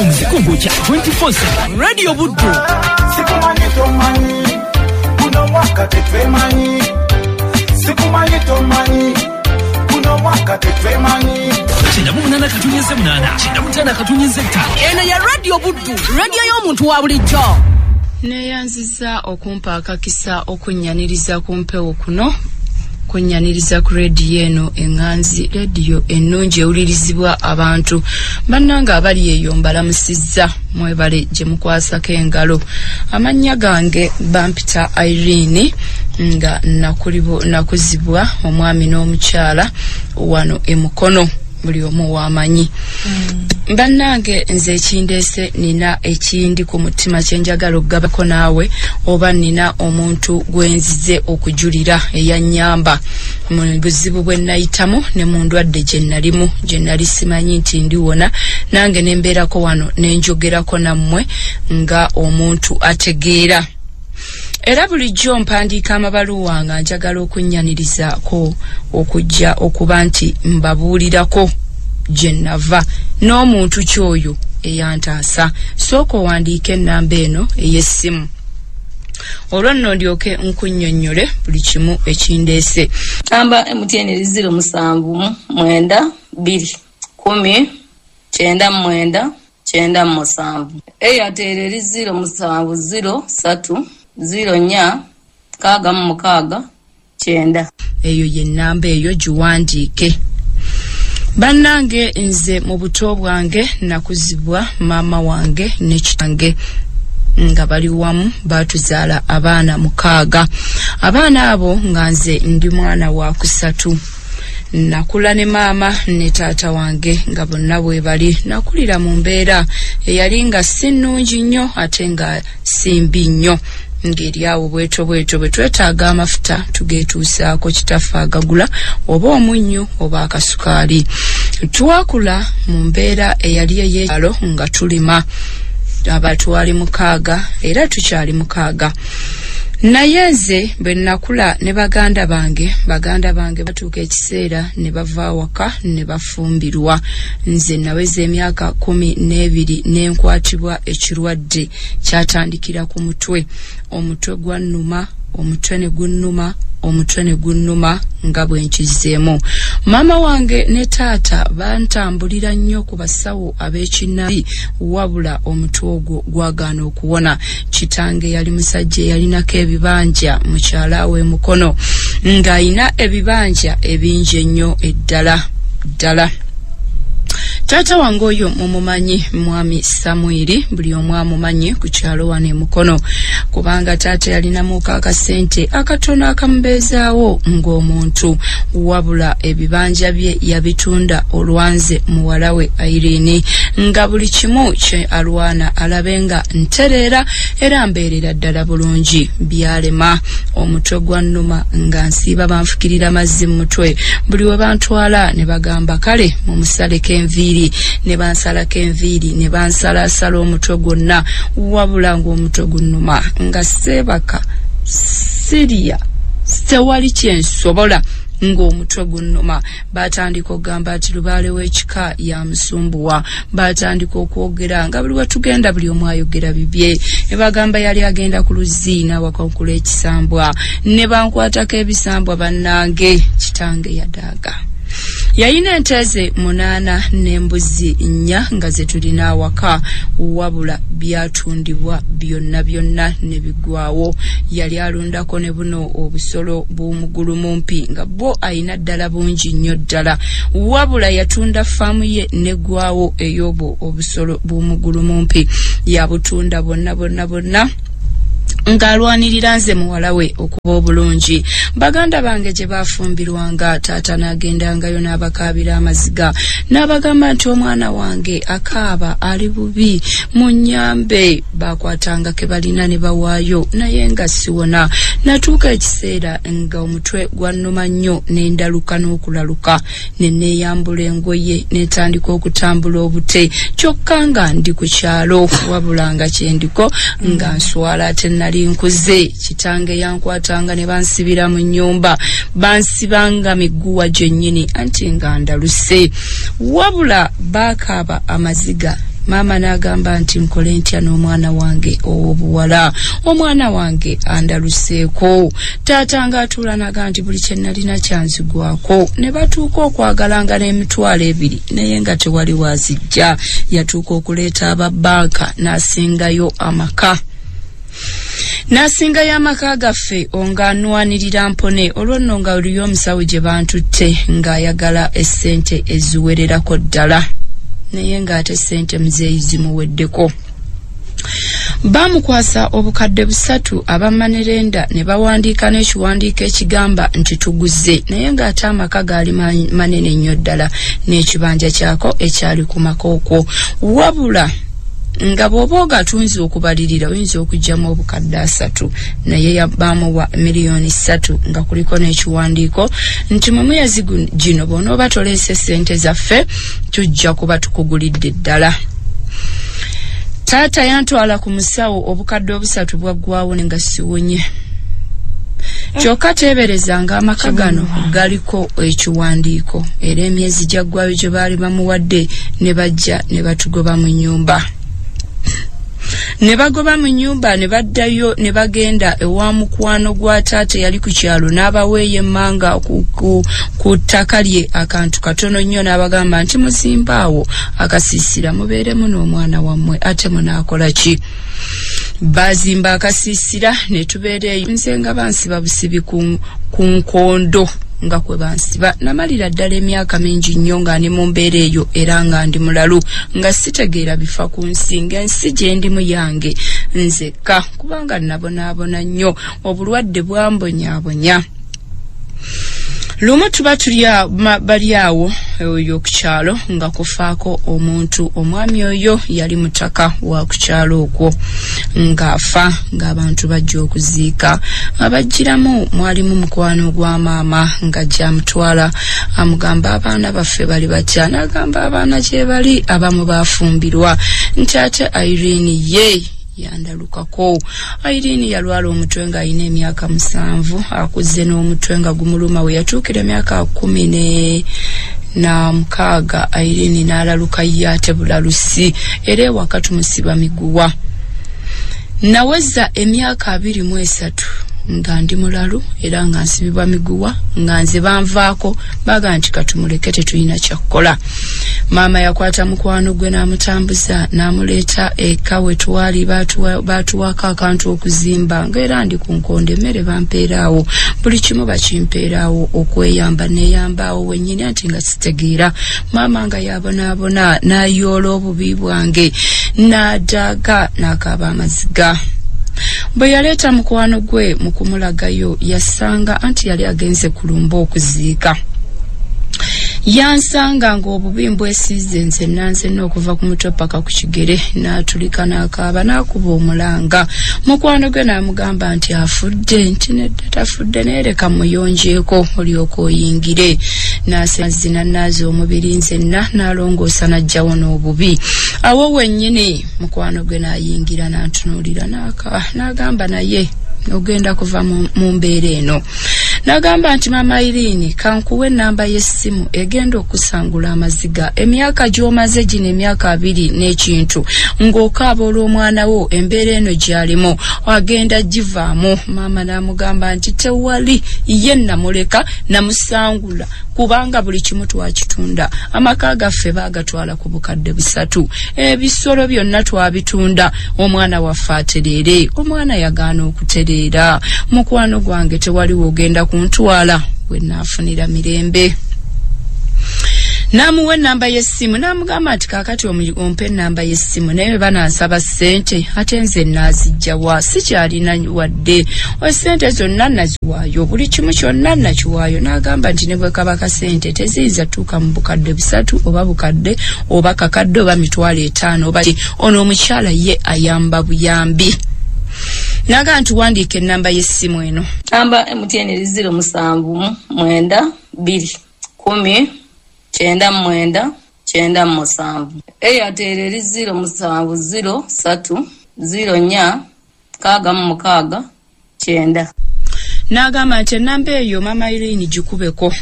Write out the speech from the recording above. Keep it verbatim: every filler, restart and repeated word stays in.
Platform zikugokya twenty-four seven. Radio Buddu. Sikumanyi tomanyi, guno mwaka tetwemanyi. Sikumanyi tomanyi, guno mwaka tetwemanyi. Kyenda mu munaana katonnyeze munaana, kyenda mu ttaano katonnyeze ttaano. Eno ya Radio Buddu, radio y'omuntu wa bulijjo. Neeyanzizza okumpa akakisa okunnyaniriza ku mpewo kuno, kunnyaniriza ku rediyo eno eŋŋanzi, rediyo ennungi ewulirizibwa abantu. Bannange abali eyo mbalamusizza, mwebale gye mukwasako engalo. Amannya gange bampita Irene, nga nakuzibwa omwami n'omukyala wano e Mukono, buli omu w'amanyi. Mm. Bannange nze ekindeese nina ekindi ku mutima kye njagala okugabako naawe, oba nina omuntu gwe nzize okujulira eyannyamba mu buzibu bwe nayitamu ne mu ndwadde gye nalimu, gye nali simanyi nti ndiwona, nange ne mbeerako wano ne njogerako nammwe nga omuntu ategeera. Era bulijjo mpandiika amabaluwa nga njagala okunnyanirizaako okujja okuba nti mbabuulirako gye nava n'omuntu ky'oyo eyantaasa. Sooka owandiike ennamba eno ey'essimu, olwo nno ndyoke nkunnyonnyole buli kimu ekindeese. Namba M T N eri ziro musanvu mwenda bbiri kumi kyenda mwenda kyenda musanvu. Airtel eri ziro musanvu ziro ssatu ziro nnya mukaaga mu mukaaga kyenda. Eyo ye nnamba eyo giwandiike. Bannange nze mu buto bwange nakuzibwa maama wange ne kitange nga bali wamu, baatuzaala abaana mukaaga. Abaana abo nga nze ndi mwana wa kusatu. Nakula ne maama ne taata wange nga bonna bwe bali. Nakulira mu mbeera eyali nga si nnungi nnyo ate nga si mbi nnyo, ng'eri awo bwetyo bwetyo bwe twetaaga amafuta tugeetuusaako kitaffe agagula, oba omunnyu oba akasukaali. Twakula mu mbeera eyali ey'ekyalo nga tulima, abatwali mukaaga era tukyali mukaaga. Naye nze bwe nakula ne baganda bange, baganda bange batuuka ekiseera ne bava awaka ne bafumbirwa. Nze naweza emyaka kumi n'ebiri ne nkwatibwa ekirwadde kyatandikira ku mutwe. Omutwe gwannuma, omutwe ne gunnuma, omutwe ne gunnuma nga bwe nkizzeemu. Maama wange ne taata bantambulira nnyo ku basawo ab'ekinnabi, wabula omutwe ogwo gwagaana okuwona. Kitange yali musajja eyalinako ebibanja mukyala we Mukono, ng'ayina ebibanja ebingi ennyo eddala ddala. Taata wange oyo mumumanyi, mwami Samwiri, buli omu amumanyi ku kyalo wano e Mukono, kubanga taata yalinamuko akasente akatono akamubeezaawo ng'omuntu, wabula ebibanja bye yabitunda olwanze muwala we Irene, nga buli kimu kye alwana alabe nga ntereera era mbeerera ddala bulungi. Byalema, omutwe gwannuma nga nsiiba banfukirira mazzi mu mutwe. Buli we bantwala ne bagamba kale mumusaleko enviiri, ne bansalako enviiri, ne bansalasala omutwe gwonna, wabula ng'omutwe gunnuma nga seebaka, sirya, tewali kye nsobola ng'omutwe gunnuma. Batandika okugamba nti lubaale w'ekika yamusumbuwa. Batandika okwogera nga buli we tugenda buli omu ayogera bibye. Ne bagamba yali agenda ku luzzi n'awakakula ekisambwa, ne bankwatako ebisambwa. Bannange kitange yadaaga. Yalina ente ze munaana n'embuzi nnya nga ze tulina awaka, wabula byatundibwa byonna byonna ne biggwawo. Yali alundako ne buno obusolo bw'omugulu mumpi nga bwo ayina ddala bungi nnyo ddala, wabula yatunda faamu ye n'eggwawo ey'obwo obusolo bw'omugulu mumpi. Yabutunda bonna bonna bonna ng'alwanirira nze muwala we okuba obulungi. Baganda bange gye baafumbirwanga, taata n'agendangayo n'abakaabira amaziga, n'abagamba nti omwana wange akaaba ali bubi, munnyambe. Baakwatanga ke balina ne bawaayo, naye nga siwona. Natuuka ekiseera nga omutwe gwannuma nnyo ne ndaluka n'okulaluka, ne neeyambula engoye ne ntandika okutambula obute, kyokka nga ndi ku kyalo, wabula nga kye ndiko nga nswala ate nali nkuze. Kitange yankwatanga ne bansibira mu nnyumba, bansibanga miguwa gyennyini anti nga ndaluse. Wabula baakaaba amaziga Maama n'agamba nti nkole ntya n'omwana wange ow'obuwala, omwana wange andaluseeko. Taata ng'atuula n'agamba nti buli kye nalina kyanzigwako. Ne batuuka okwagalanga n'emitwalo ebiri, naye nga tewali waazijja. Yatuuka okuleeta aba bbanka n'asingayo amaka n'asingayo amaka gaffe ng'anwanirira mpone. Olwo nno nga oliyo omusawo gye bantutte ng'ayagala essente eziwererako ddala, naye ng'ate ssente muzeeyi zimuweddeko. Baamukwasa obukadde busatu abamanerenda ne bawandiika n'ekiwandiiko ekigamba nti tuguze, naye ng'ate amaka gaali manene nnyo ddala n'ekibanja kyako ekyali ku maka okwo. Wabula nga bw'oba ogatunze okubalirira oyinza okuggyamu obukadde asatu, naye baamuwa miliyoni ssatu nga kuliko n'ekiwandiiko nti mu myezi gino bw'onooba toleese ssente zaffe tujja kuba tukugulidde ddala. Taata yantwala ku musawo, obukadde obusatu bwaggwawo ne nga siwonye. Kyokka teeberezanga amaka gano galiko ekiwandiiko, era emyezi gyaggwayo gye baali bamuwadde ne bajja ne batugoba mu nnyumba. Ne bagoba mu nnyumba ne baddayo ne bagenda ewa mukwano gwa taata eyali ku kyalo, n'abaweeyo emmanga ku, ku, ku ttaka lye akantu katono nnyo, n'abagamba nti muzimbaawo akasiisira mubeeremu n'omwana wammwe, ate munaakola ki? Baazimba akasiisira ne tubeera eyo. Nze nga bansiba busibi ku, ku nkondo nga kwe bansiba. Namalira ddala emyaka mingi nnyo nga ndi mu mbeera eyo, era nga ndi mulalu, nga sitegeera bifa ku nsi, ng'ensi gye ndimu yange nzekka, kubanga nabonaabona nnyo, obulwadde bwambonyaabonya. Lumu tuba tuli bali awo oyo ku kyalo nga kufaako omuntu, omwami oyo yali mutaka wa ku kyalo okwo, ng'afa ng'abantu bajja okuziika. Abajjiramu mwalimu mukwano gwa maama nga gyamutwala, amugamba abaana baffe bali batya, n'agamba abaana gye bali abamu baafumbirwa, nti ate Irene ye yandalukako. Irene yalwala omutwe ng'alina emyaka musanvu, akuze n'omutwe nga gumuluma. We yatuukira emyaka kumi ne na mukaaga Irene n'alaluka ye ate bulalusi, era ewaka tumusiba miguwa. Naweza emyaka abiri mu esatu nga ndi mulalu era nga nsibibwa miguwa, nga nze banvaako baga nti katumuleke tetulina kyakukola. Maama yakwata mukwano gwe n'amutambuza n'amuleeta eka we twali, baatuwaako akantu okuzimba, ng'era ndi ku nkondo, emmere bampeeraawo, buli kimu bakimpeeraawo, okweyamba neeyambaawo wennyini, anti nga sitegeera. Maama nga yabonaabona n'ayoola obubi bwange n'adaaga n'akaaba amaziga. Bwe yaleeta mukwano gwe mu kumulagayo, yasanga anti yali agenze kulumba okuziika. Yansanga ng'obubi mbwesiize nze nanzenna okuva ku mutwe paka ku kigere, n'atulika n'akaaba n'akuba omulanga. Mukwano gwe n'amugamba nti afudde, nti nedda tafudde, naye leka muyonjeeko olyoke oyingire. N'asemazzi n'annaaza omubiri nzenna, n'alongoosa n'aggyawo n'obubi. Awo wennyini mukwano gwe n'ayingira n'antunuulira n'agamba naye ogenda kuva mu mbeera eno. N'agamba nti maama Irene, kankuwe ennamba y'essimu egenda okusangula amaziga. Emyaka gy'omaze gino emyaka abiri n'ekintu ng'okaaba olw'omwana wo, embeera eno gy'alimu agenda givaamu. Maama n'amugamba nti tewali, ye namuleka namusangula, kubanga buli kimu twakitunda. Amaka gaffe baagatwala ku bukadde busatu, ebisolo byonna twabitunda, omwana waffe atereere. Omwana yagaana okutereera. Mukwano gwange tewaliwo ogenda kuntwala we naafunira mirembe. N'amuwa ennamba y'essimu n'amugamba nti kaakati ompe ennamba y'essimu, naye banansaba ssente ate nze naazijja wa, sikyalina wadde essente zonna naziwaayo, buli kimu kyonna nakiwaayo. N'agamba nti ne bwe kaba kasente teziyinza tuuka mu bukadde busatu oba bukadde oba kakadde oba mitwalo etaano oba ki. Ono omukyala ye ayamba buyambi. N'agamba nti wandiika ennamba y'essimu eno. Namba M T N eri ziro musanvu mwenda bbiri kumi kyenda mwenda kyenda musanvu. Airtel eri ziro musanvu ziro ssatu ziro nnya mukaaga mu mukaaga kyenda. N'agamba nti ennamba eyo maama Irene gikubeko.